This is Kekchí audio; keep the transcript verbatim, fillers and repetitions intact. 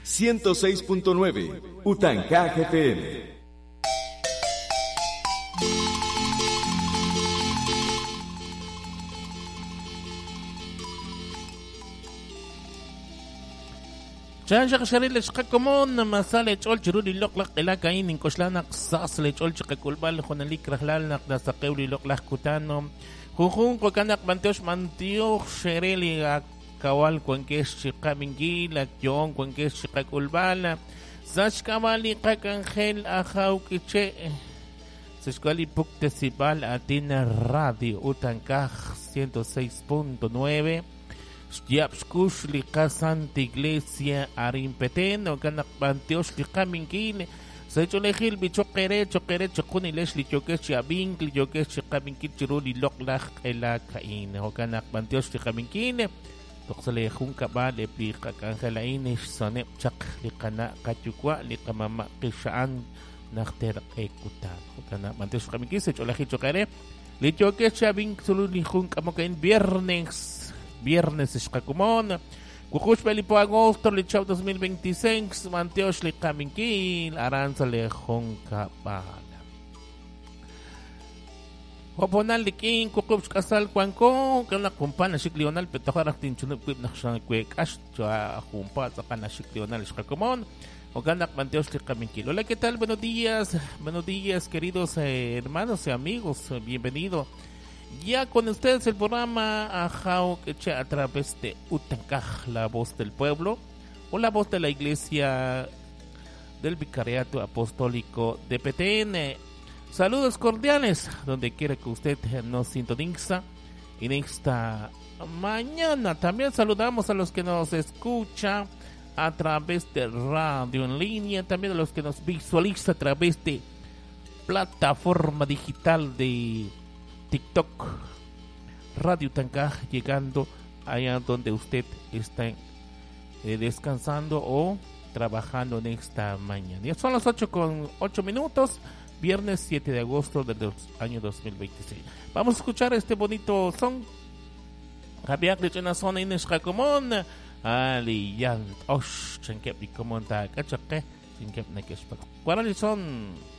ciento seis punto nueve Utancaj F M. Chan xaril xqakomon masale ch'ol chiru li loq'laj q'elakain inkoxlanaq sas le ch'ol chiqak'ulb'al junalik rajlal naq nasaqew li loq'laj kutano junjun qokanaq bantiox mantiox xereli akawal kuankex chiqaminkil akyoon kuankex chiqak'ulb'al saxk'ab'al li qak'anjel ajaw k'iche' sexkuali puktesib'al atina radio Utancaj ciento seis punto nueve Xyapxkux li Santa Iglesia arin Petén okanak bantiox li qaminkil sech'olejil bichoqere choqere choqunilex li yokex chiabink li yokex chiqaminkil chiru li loq'laj q'elakain okanak bantiox li qaminkil toqsale jun kab'al epli qak'anjelain xsoneb chaq li qana' qatyuwa' li qamama' qixa'an najter q'ekutan okanak bantiox li qaminkil sech'olejil choqere li yokex chiabink sulu li jun k'amokain viernes Viernes xqakumon Kukush pelipo agosto lichau dos mil veintiséis Mantiox li qaminkil aranza le jonkabal Hoponal likin kukush kasal kuanko kana kumpana xik lional petojaraj tinchunub kuib naxan kuek ax chua jumpa tzaqana xik lional xqakumon Oganak Mantiox li qaminkil. Hola, ¿qué tal? Buenos días, buenos días queridos eh, hermanos y amigos, bienvenido. Ya con ustedes el programa Ajao Queche a través de Utancaj, la voz del pueblo, o la voz de la Iglesia del Vicariato Apostólico de Petén. Saludos cordiales, donde quiera que usted nos sintoniza en esta mañana. También saludamos a los que nos escuchan a través de radio en línea, también a los que nos visualiza a través de plataforma digital de TikTok, Radio Utancaj, llegando allá donde usted está eh, descansando o trabajando en esta mañana. Ya son las ocho con ocho minutos, viernes siete de agosto del año dos mil veintiséis. Vamos a escuchar este bonito son. Javier de Chena Son Inés Jacomón, Ali Yan Osh, Chenkep y Comonta, Cachaque, Chenkep Nekeshpak. ¿Cuál son?